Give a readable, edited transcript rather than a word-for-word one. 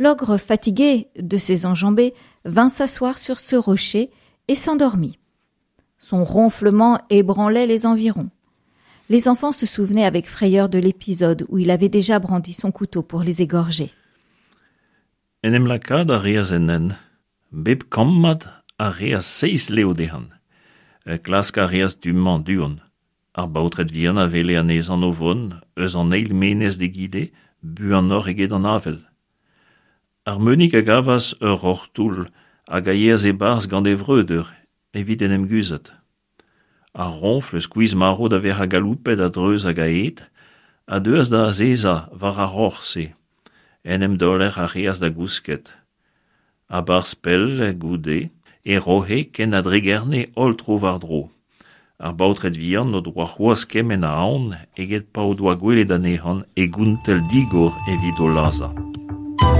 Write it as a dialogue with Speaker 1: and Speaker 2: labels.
Speaker 1: L'ogre, fatigué de ses enjambées, vint s'asseoir sur ce rocher et s'endormit. Son ronflement ébranlait les environs. Les enfants se souvenaient avec frayeur de l'épisode où il avait déjà brandi son couteau pour les égorger.
Speaker 2: En em lakaat a reas en hent. Bep kammad a reas seizh lev dezhañ. Klask a reas du-mañ du-hont. Ar baotred vihan a wele anezhañ o vont eus an eil menez d'egile buanoc'h eget an avel. Ar Meunig a gavas ur roc'h-toull hag a yeas e-barzh gant e vreudeur evit en em guzhat. Ar roñfl skuizh-marv da vezañ galoupet a-dreuz hag a-hed a deuas da azezañ war ar roc'h-se. En em daoler a reas da gousket. A-barzh pell goude e roc'he ken a dregerne holl tro-war-dro. Ar baotred vihan o doa c'hoazh kement a aon eget pa o doa gwelet anezhañ e gontell digor evit o lazhañ.